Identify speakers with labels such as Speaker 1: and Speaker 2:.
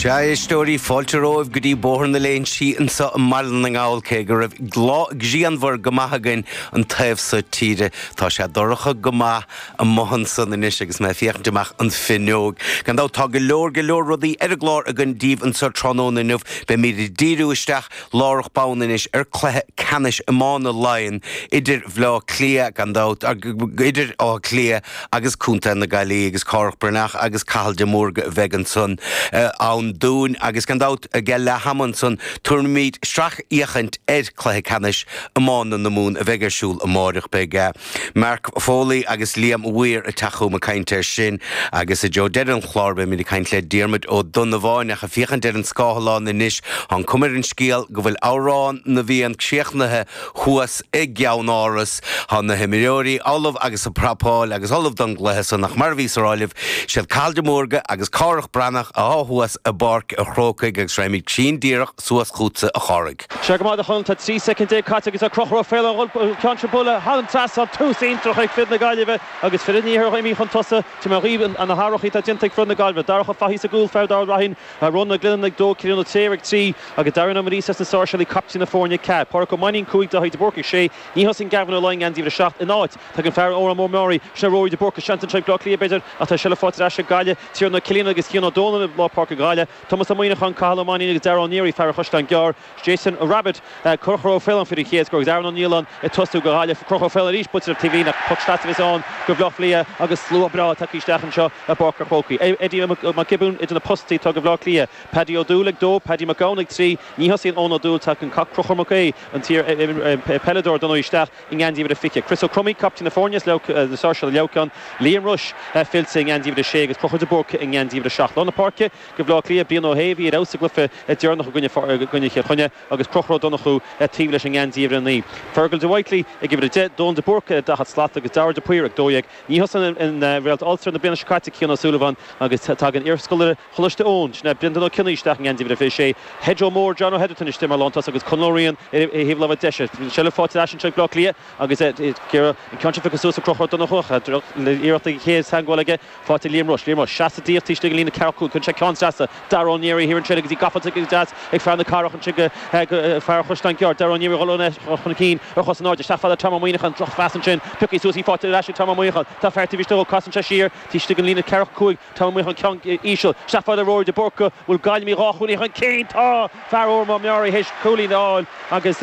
Speaker 1: Sea, a éisteoirí, fáilte romhaibh go dtí Bóthar na Léinsí anseo i mBaile na nGall, cé go raibh lá grianmhar go maith againn an taobh so tíre. Tá sé dorcha go maith amuigh ansan anois agus mé ag féachaint amach an finneog. Gan dabht, tá go leor, go leor rudaí ar an gclár againn daoibh anseo tráthnóna inniu. Beimid ag díriú isteach lárach bonn anois ar cluiche ceannais iomána Laighean idir Bhleá Cliath, gan dabht, idir Áth Cliath agus Contae na Gaillimhe agus Cárthach Breathnach agus Cathal de Mórdha a bheidh ansan ann dúinn agus gan dabht ag leath ama ansan tabharfaimid sracfhéachaint ar chluiche ceannais iomána na Mumhan a bheidh ar siúl amáireach. Beidh Mark Foley agus Liam Weir ag teacht chugam ag caint air sin agus i dtreo deireadh an chláir beimid ag caint le Diarmuid Ó Donnabháin ach ag féachaint ar an scáthlán anois tá an cuma ar an scéal go bhfuil Amhrán na bhFiann críochnaithe thuas i gceannáras. Tá na himreoirí ullamh agus ag prapáil agus ullamh don gcluiche san ach mar a bhíos a rá libh, siad Cathal de Mórdha agus Cárthach Breathnach atá thuas i bPáirc a' Chrócaigh agus raghaimid cruinn díreach suas chugatsa a Chárthaigh.
Speaker 2: Sea go maith a Chonaill, tá 13 soicind caite agus tá Conchúr Ó Faoláin ag dul an ceann seo a bhualadh thar an trasnán, tús iontach ag fir na Gaillimhe agus fir an iarthair imithe chun tosaigh. Tá mé dhaoibh na hathruithe atá déanta ag fir na Gaillimhe. Darach Ó Fathaigh sa gcúl, fear Ard Raithin, Ronan Ó Glennon ag 2, Cillian Ó Tréir ag 3 agus Darren Ó Muiríosa as na Sáirséalaigh, captaen na foirne, 4. Pádraic Ó Mainnín 5, Daithí de Búrca 6. Ní thosaíonn Gavin Ó Laighin i ngeansaí uimhir 7 ina áit. Tagann fear Órán Mór Meáraí, sin é Rory de Búrca, seans anseo ag Bleá Cliath b'fhéidir ach tá seilbh faighte ar ais ag Gaillimh, Tiarnan Ó Cilian agus Cian Ó Dónaill i lár páirce Ghaillimh, Tomás Ó Muíneacháin, Cathal Ó Mainnín agus Darragh Ó Neary, fear an Chaisleáin Ghearr, Jason Rabbitte, Conchúr Ó Faoláin faoi an chéad scór agus Aaron Ó Nialláin ag tosú do Ghaillimh. Conchúr Ó Faoláin arís buailte taobh líne ach poc sleasa a bheas ann do Bhaile Átha Cliath agus slua breá tagtha isteach anseo i bPáirc a' Chrócaigh. Eddie Mac Giobúin idir na postaí atá do Bhaile Átha Cliath. Paddy Ó Dúill ag 2, Paddy Mac Gabhann ag 3. Ní thosaíonn Eoin Ó Dúill, tagann Conchúr Mac Aoidh, an t-iar-pheileadóir don isteach i ngeansaí uimhir a 20. Chris Ó Cromaí, captaen na foirne as na Sáirséalaigh Leamhcán. Liam Rushe fillte i ngeansaí uimhir a 6 agus Conchúr de Búrca i ngeansaí uimhir a 7. Lár na páirce. Do Bhaile Átha Cliath, Brian Ó hAodha a bhí ar fheabhas sa gcluiche deireanach i gcoinne Chill Chainnigh agus Conchúr Ó Donnchú taobh leis i ngeansaí uimhir 9. Fergal de Whitely ag uimhir 10, Dónal de Búrca ar 40 slat agus Dara de Paor ag 12. Ní thosaíonn an réalt Ulster na bliana seo caite, Cian Ó Súilleabháin agus tagann iarscoláire Choláiste Eoin, sin é Brendan Ó Cionnaith isteach i ngeansaí uimhir 26. Hedro Mór, John O'Heatherton istigh mar lántosach agus Conall Ó Riain ar thaobh láimhe deise. Seilbh faighte ar ais anseo ag Bleá Cliath agus ag iarraidh an ceann seo a phiocadh suas ag Conchúr Ó Donnchú ach iarracht ag an chéad teagmháil aige. Faighte ag Liam Rushe. Liam Rushe. Seasta díreach taobh istigh den líne ceathracha 5. Cuireann sé ceann trasna. Dara Ó Neary thiar ansin agus í gafa go deas ag fear na Cathrach ansin go fear an Chaisleáin Ghearr. Dara Ó Neary ag dul chun cinn ar chos in airde. Isteach fada Tom Ó Muíneacháin. Drochphas ansin. Pioctha suas í faighte ar ais ag Tom Ó Muíneacháin. Tá fear taobh istigh dhó. Casann sé siar taobh istigh den líne ceathracha 5. Tom Ó Muíneacháin ceann íseal. Isteach fada Rory de Búrca. Bhfuil Gaillimh dhá chúilín chun cinn? Tá! Fear Órán Mór Meáraí théis cúilín a fháil agus.